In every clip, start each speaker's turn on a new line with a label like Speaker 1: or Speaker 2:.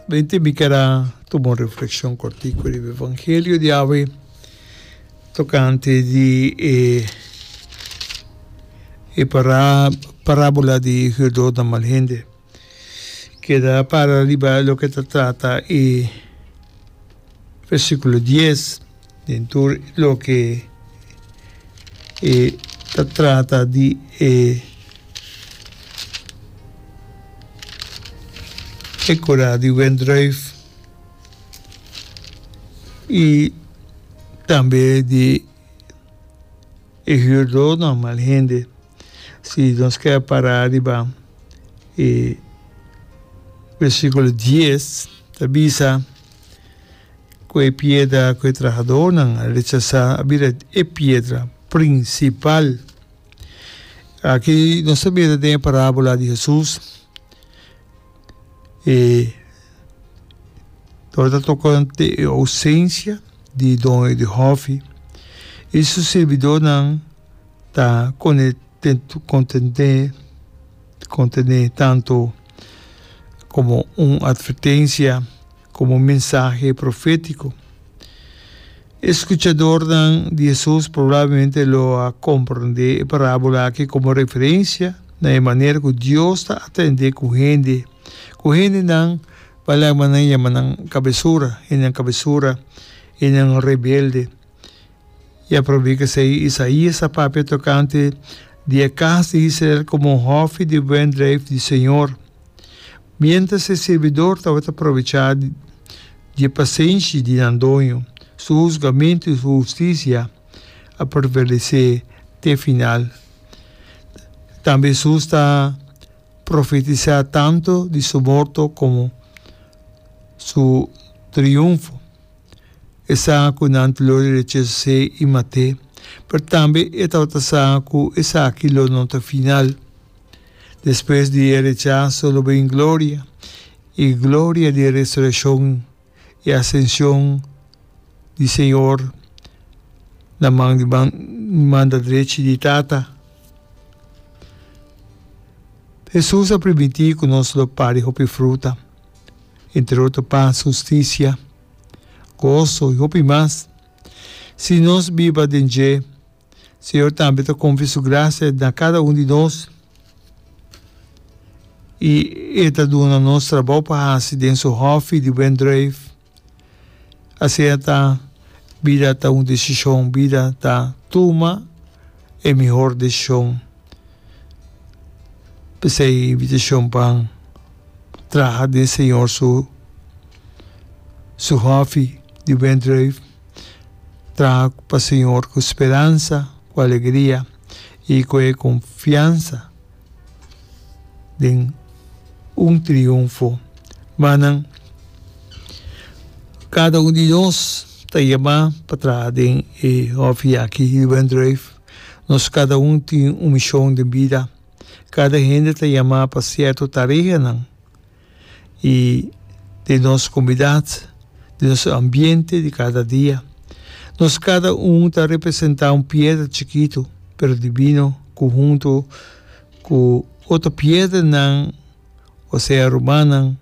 Speaker 1: Bente mi ker a tuma un reflexion cortico riba evangelio di awe tocante di e e parabola di huurdonan mal hende. Keda para riba loke ta trata e versiculo dies den tur loke e ta trata di e e kura di wendruif i tambe di e huurdonan mal hende. Si nos keda para riba e versikulo dies ta bisa ku e piedra ku e trahadónan a rechasá a bira e piedra prinsipal. Aki nos ta mira den e parábola di Hesus e tabata tokante e ousensia di doño di hòfi i su sirbidónan ta kontené tantu komo un atvertensia komo un mensahe profétiko. E skuchadornan di Hesus probablemente lo a komprondé e parábola aki komo referensia na e manera ku Dios ta atendé ku hende, ku hendenan pa laga nan yama nan kabesura, hendenan kabesura, hendenan rebelde. I a prob'é k'esei Isaías a papia tokante di e kas di Israel komo un hòfi di wendreif di señor. Miéntras e sirbidor tabata probechá di e pasenshi di nan doño, su husgamentu i su hustisia a prevalesé te final. Tambe Hesus ta profetisá tantu di su morto komo su triunfo. E sa ku nan lo rechas'é i mat'é, pero tambe e tabata sa ku esaki lo no ta final. Despues di e rechaso lo bin gloria, i gloria di e resurekshon i asenshon di Señor na man di manda drechi di Tata. Hesus a primintí ku nos lo pari hopi fruta. Entre otro pas, hustisia, goso i hopi mas. Si nos biba den dje, Señor tambe ta konfia su grasia na kada un di nos i E ta duna nos trabou pa hasi den su hòfi di wendruif. Asina ta, bida ta un desishon, bida ta tuma e mihor desishon. P'esei invitashon pa traha den Señor su su hòfi di wendruif, traha pa Señor ku speransa, ku alegria i ku e konfiansa den un triunfo. Manan, kada un di nos ta yamá pa traha den e hòfi aki di wendruif. Nos kada un tin un mishon den bida. Kada hende ta yamá pa sierto tareanan i den nos komunidat, den nos ambiente di kada dia. Nos kada un ta representá un piedra chikitu pero dibino ku huntu ku otro piedranan, osea rumannan,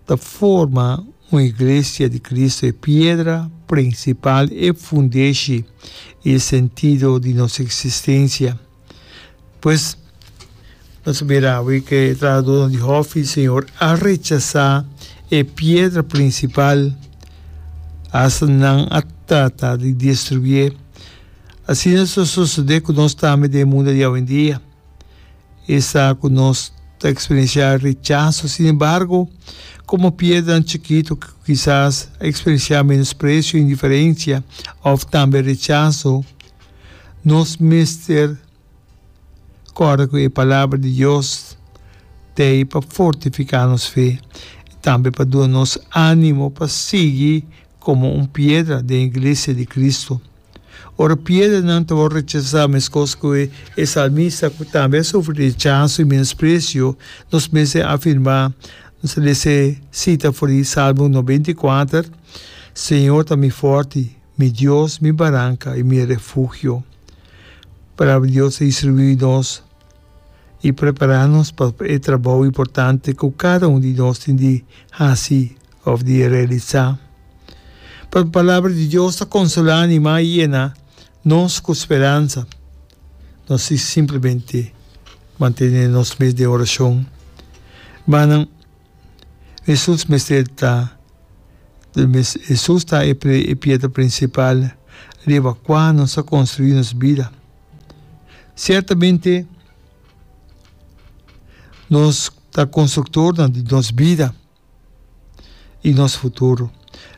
Speaker 1: ta forma un iglesia di Cristo, e piedra principal, e fundeshi i e sentido di nos existencia. Pues, nos a mira awe cu e trahadornan di hofi di Señor a rechasa e piedra principal, hasta nan a trata di destruié. Asina ta sosode cu nos tambe den e mundo di awendia. E sa ku nos ta eksperensiá rechaso. Sin embargo, komo piedranan chikitu ku kisas a eksperensiá menospresio, indiferensia òf tambe rechaso, nos mester kòrda ku e Palabra di Dios ta ei pa fortifiká nos fe i tambe pa duna nos ánimo pa sigui komo un piedra den iglesia di Kristu. Ora piedranan ta wòrdu rechasá meskos ku e salmista ku tambe a sufri rechaso i menospresio, nos mester afirmá, nos ta lesa e sita for di Salmo 94, Señor ta mi fòrti, mi Dios, mi baranka i mi refugio. Palabra di Dios ta instruí nos i prepará nos pa e trabou importante ku kada un di nos tin di hasi. òf di realisá. Pero Palabra di Dios ta konsolá, animá i yena nos ku speransa. Nos tin simplemente mantené nos mes den orashon. Hermannan, Hesus mester ta Hesus ta e piedra prinsipal riba kua nos a konstruí nos bida. Siertamente nos ta konstruktornan di nos bida i nos futuro.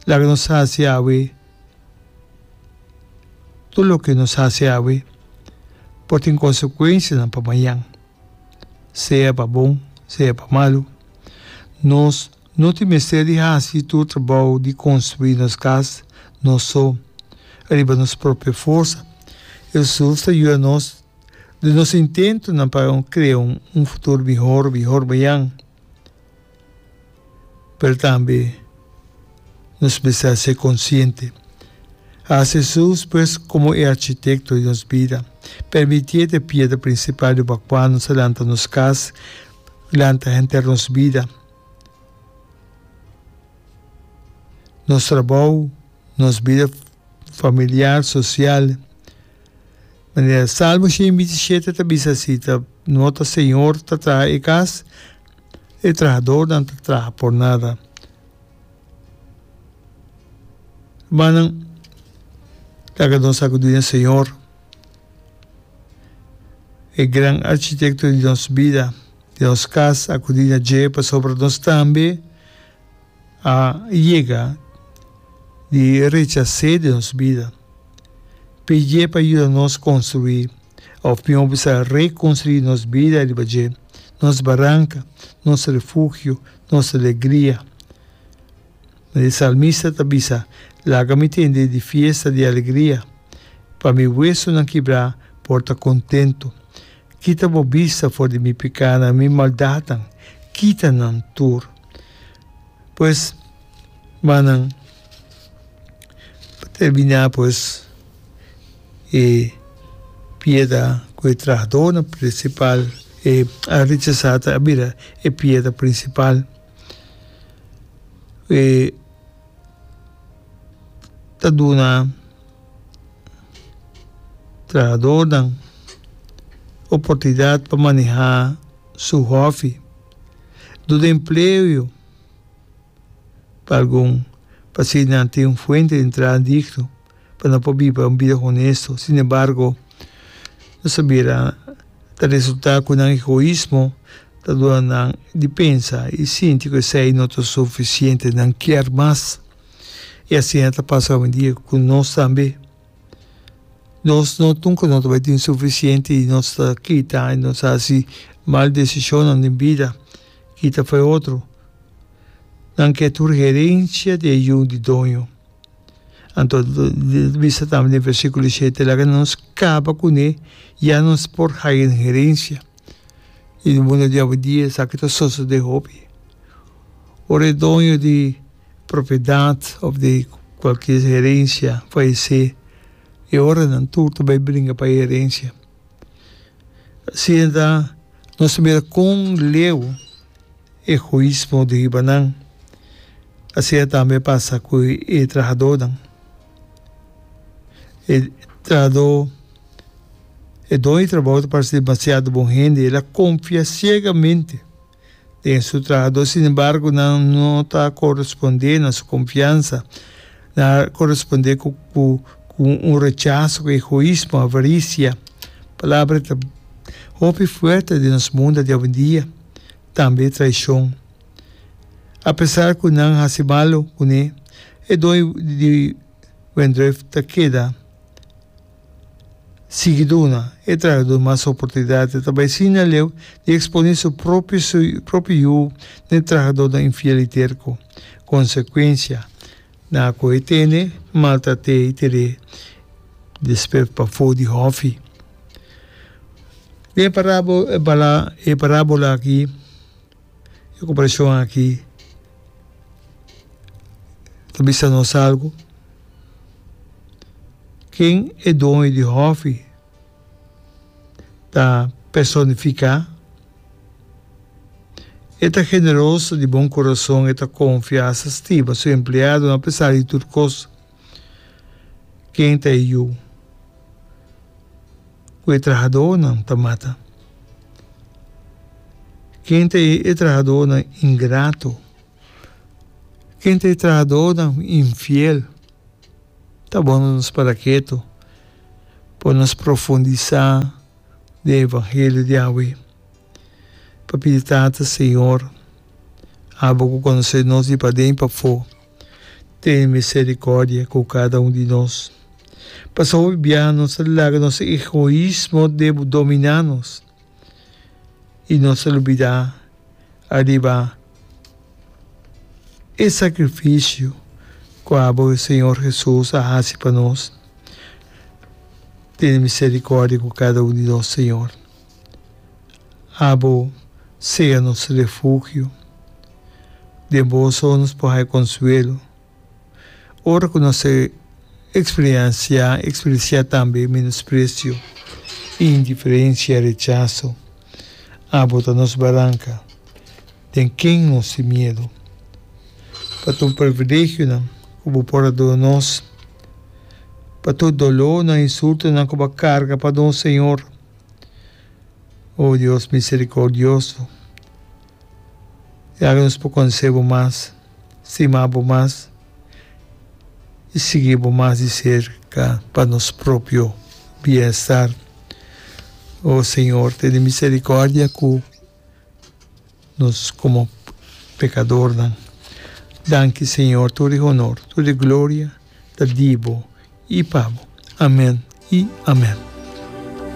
Speaker 1: Laga nos hasi awe tur loke nos hasi awe por tin konsekuensianan pa mañan, sea pa bon, sea pa malu. Nos no tin mester di hasi tur trabou di konstruí nos kas nos so, riba nos propio forsa. Hesus ta yuda nos den nos intentonan pa krea un futuro mihor, mihor mañan. Pero tambe nos mester ser konsiente. Hasi Hesus pues komo e architekto di nos bida. Permitié ta e piedra prinsipal riba kua nos a lanta nos kas, lanta henter nos bida, nos trabou, nos bida familiar, sosial. Manera Salmo 127 ta bisa si ta no ta Señor ta traha e kas, E trahadornan ta traha por nada. Hermannan, laga nos akudí na Señor, e gran Architekto di nos bida, di nos kas, akudí na dje pasobra nos tambe a yega di rechas'é den nos bida. Pidié pa yuda nos konstruí. Òf mihó bisa rekonstruí nos bida riba dje, nos baranka, nos refugio, nos alegria. E salmista ta bisa, Laga mi tende di fiesta di alegria, pa mi wesunan kibrá por ta kontentu. Kita bo bista for di mi pikánan, mi maldatnan, kita nan tur. Pues, mannan, pa terminá pues. E piedra ku e trahadónan prinsipal e a rechasá ta a bira e piedra prinsipal. E ta duna trahadónan oportunidat pa manehá su hòfi, duna empleo. Pa algun, pa si nan tin un fuente di entrada digno pa nan por biba un bida honesto. Sin embargo, nos a mira ta resulta cu nan egoismo ta duna nan di pensa y sinti cu esey no ta suficiente, nan kier mas. Y asina ta pasa awendia cu nos tambe. Nos no nunca no ta bay tin suficiente y nos ta kita y nos ta haci mal decisionnan den bida, kita fo'i otro. Nan ke tur herencia di e yu di doño. Anto ta bisa tambe den versiculo shete, Laga nos caba cune, ya nos por haya un herencia. Y den mundo di awendia esaki ta sosode hopi. Ora e doño di propiedad of di cualkier herencia fayece, e ora nan tur ta bay bringa pa e herencia. Asina ta nos ta mira con leu egoismo di riba nan. Asina tambe a pasa ku e trahadónan. E trahadó, e doño di trabou ta parse demasiado bon hende, el a konfia siegamente den su trahadó, sin embargo nan no ta korespondé na su konfiansa, nan a korespondé ku ku un rechaso, ku egoismo, avarisia. Palabra ta hopi fuerte den nos mundo di awendia. Tambe traishon. Apesar ku nan hasi malu kuné, e doño di wendrùif ta keda sigui duna e trahadó mas oportunidat. E ta bai asina leu di eksponé su propio propio yu na e trahadónan infiel i terko. Konsekuensia, nan a kohe tene, maltrat'é i tir'é despues pafó di hòfi. Den e parábola aki, e komparashon aki ta bisa nos algu. Ken e doño di hòfi ta personifiká? E ta generoso, di bon kurason, e ta konfia, sa stima su empleadonan apesar di tur kos. Ken ta e yu ku e trahadónan ta mata? Ken ta e trahadónan ingrato? Ken ta e trahadónan infiel? Ta bon nos para ketu pa nos profundisá den e evangelio di awe. Pa pidi Tata, Señor, abo ku konosé nos di paden i pafó, tene misericordia ku kada un di nos. Pasobra hopi biaha nos ta laga nos egoismo dominá nos i nos ta lubidá ariba e sakrifisio ku abo Señor Hesus a hasi pa nos. Tene misericordia ku kada un di nos, Señor. Abo sea nos refugio. Den bo so nos por haya konsuelo. Ora ku nos a eksperensiá, eksperensiá tambe menospresio, indiferensia, rechaso, abo ta nos baranka. Den ken nos tin miedu? Pa tur privilegionan ku bo por a duna nos, pa tur dolónan, insultonan ku bo a karga pa nos, Señor. O Dios misericordioso, laga nos por conoce bo mas, stima bo mas y sigui bo mas di cerca pa nos propio bienestar. O Señor, tene misericordia cu nos como pecadornan. Danki Señor, tur e honor, tur e gloria ta di bo y pa bo. Amen y amen.